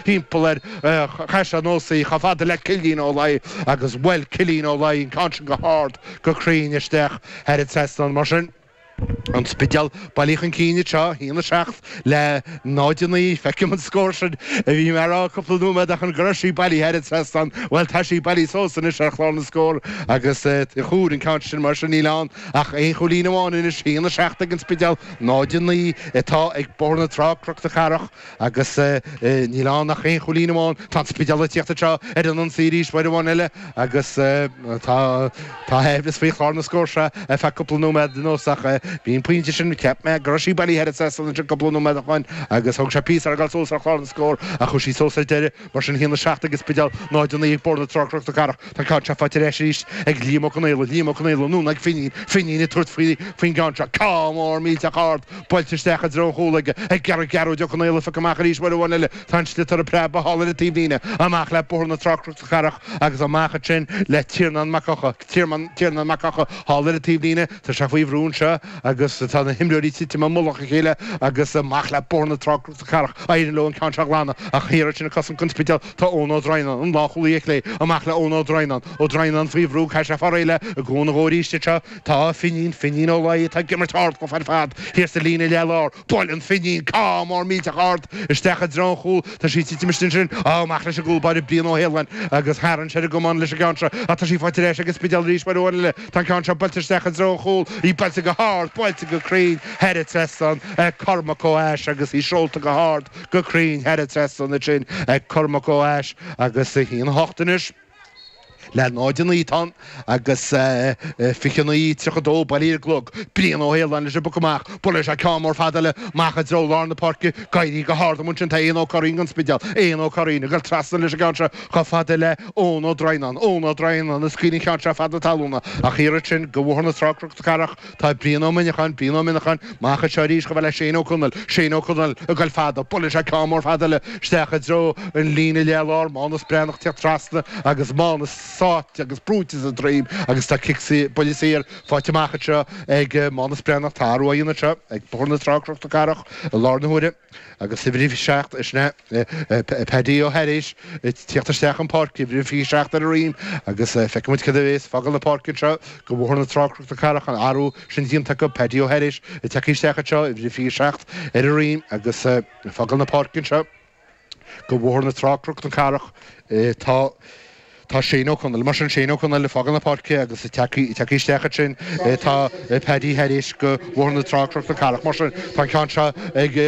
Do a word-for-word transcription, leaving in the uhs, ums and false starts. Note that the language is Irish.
Timpeall air, chaith sé anuas í chomh fada le Cillian Ó Laoi agus bhuail Cillian Ó Laoi an ceann sin go hard go cruinn isteach thar an trasnán. Mar sin, An Spidéal bailithe chun cinn anseo, a haon a seacht le náid a naoi. Feicim an scór sin a bhí mé a rá cúpla nóiméad ó shin go raibh sí bailithe thar an trasnán. Bhuel, tá sí bailithe suas anois ar chlár na scór agus chuir an ceann sin mar sin níl ann ach aon chúilín amháin anois, a haon a seacht ag an Spidéal, náid a naoi atá ag Bóthar na Trá, Cnoc na Cathrach agus níl ann ach aon chúilín amháin. Tá an Spidéal ag tíocht anseo ar an ionsaí arís uair amháin eile agus tá tá aimhleas faoi chlár na scór seo ar feadh cúpla nóiméad anuas ach bhí an pointe sin, cheap mé go raibh sí bailithe thar an trasnán ansin cúpla nóiméad ó shin agus thóg sé píosa air a ghabháil suas ar chlár na scór ach chuaigh sí suas ar deireadh. Mar sin, a haon a seacht ag an Spidéal, náid a naoi ag Bóthar na Trá, Cnoc na Cathrach. Tá an ceann seo faighte ar ais arís ag Liam Ó Conaola, Liam Ó Conaola anonn ag Finín, Finín ag tabhairt faoi faoin gceann seo. Ceann mór millteach ard buailte isteach i dtreo an chúil aige, ag iarraidh Gearóid Ó Conaola a phiocadh amach arís uair amháin eile. Tá an sliotar ag preabadh thall ar an taobhlíne, amach le Bóthar na Trá, Cnoc na Cathrach agus amach ansin le Tiarnán Mac Eocha, Tiarnán Mac Eocha thall ar an taobhlíne. Tá sé faoi bhrú anseo agus tá na himreoirí ag titim i mullach a chéile agus amach le Bóthar na Trá, Cnoc na Cathrach. Éiríonn leo an ceann seo a ghlanadh ach thiar ansin ag cosaint don Spidéal tá Eoin Ó Droighneáin, an lánchúlaí ar chlé, amach le Eoin Ó Droighneáin. Ó Droighneáin faoi bhrú, caithfidh sé fáil réidh le i gcúnamh dhó arís anseo. Tá Finín, Finín Ó Laoi atá ag imirt ard chomh fada ar fad thiar sa líne leath-lár. Buaileann Finín ceann mór millteach ard isteach i dtreo an chúil. Tá sí ag titim istigh ansin. Amach leis an gcúl báire Brian Ó hAoláin agus tharraing sé ar an gcamán leis an gceann seo ach tá sí faighte ar ais ag an Spidéal arís uair amháin eile. Tá an ceann seo buailte isteach i dtreo an chúil. Í buailte go hard, buailte go cruinn thar an trasnán ag Cormac Ó hAis agus í seolta go hard, go cruinn thar an trasnán ansin ag Cormac Ó hAis agus a haon a hocht anois le náid a naoi atá ann agus fiche a naoi tríocha dó bailithe ar an gclog. Brian Ó hAoláin leis an bpoc amach. Buaileann sé ceann mór fada eile amach i dtreo lár na páirce. Ag éirí go hard amuigh ansin tá Éanna Ó Curraoin don Spidéal. Éanna Ó Curraoin ag dul trasna leis an gceann seo chomh fada le Eoin Ó Droighneáin. Eoin Ó Droighneáin ag scaoileadh an cheann seo fada talúna ach thiar ansin do Bhóthar na Trá Cnoc na Cathrach tá Brian Ó Muineacháin, Brian Ó Muineacháin amach anseo arís chomh fada le Shane Ó Conaill. Shane Ó Conaill ag dul fada. Buaileann sé ceann mór fada eile isteach i dtreo an líne leath lár. Mánas Breathnach ag teacht trasna agus Mánas sáite agus brúite sa droim agus tá cic buille saor faighte amach anseo ag Mánas Breathnach. Tá athrú á dhéanamh anseo ag Bóthar na Trá Cnoc na Cathrach i láthair na huaire agus uimhir a seacht, sin é Paddy Ó hAiréis ag tíocht isteach chun páirce, uimhir a fiche seacht ar a dhroim agus feicfidh muid cad a bhéas ag fágáil na páirce anseo do Bhóthar na Trá Cnoc na Cathrach, an athrú sin déanta acu, Paddy Ó hAiréis ag teacht isteach anseo, uimhir a fiche seacht ar a dhroim agus ag fágáil na páirce anseo. Do Bhóthar na Trá, Cnoc na Cathrach, tá tá Shane Ó Conaill. Mar sin, Shane Ó Conaill ag fágáil na páirce agus ag teacht isteach ansin tá Paddy Harris do Bhóthar na Trá, Cnoc na Cathrach. Mar sin, tá an ceann seo ag.